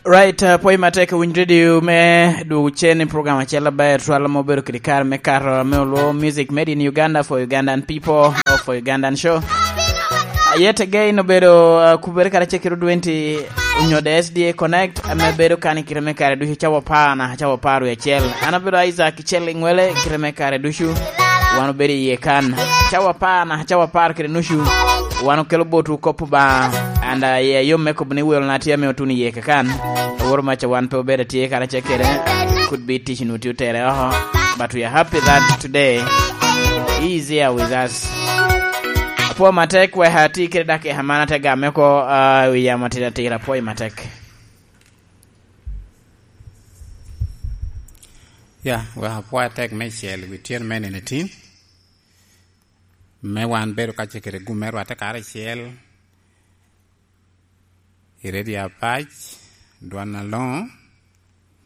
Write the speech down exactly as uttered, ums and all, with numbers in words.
Right, uh, pwoc matek, winy radio me dwogo cen i program acel aber twal ma obedo kede kare me kato me olwo music made in Uganda for Ugandan people or for Ugandan show. Uh, yet again obedo, uh, kubere kare cekiro twenty onyo the S D A Connect ame bedo kan i kite me kare ducu cawa apar na cawa apar wie acel. An abedo Isaac Cel Ingwele, kite me kare ducu wan obedo iye kan. Cawa apar na cawa apar kede nucu wan okelo botwu kop Obaŋa. And, uh, yeah, yom me kobo ni welna tye ame otuno iye kakan. Aworo maca wan pe obedo atye karacel kede. Could be tic nu tye otere oko. But we are happy that today he is here with us. Apwo matek, wek ati kede dakika man ate game oko, uh, wi yamo atira atira. Apwoyo matek. Ya, wek apwoyo atek me cel wi tyen me nino tin. Me wan bedo kacel kede gum me rwatte karacel i redio Apac, dwan aloŋo,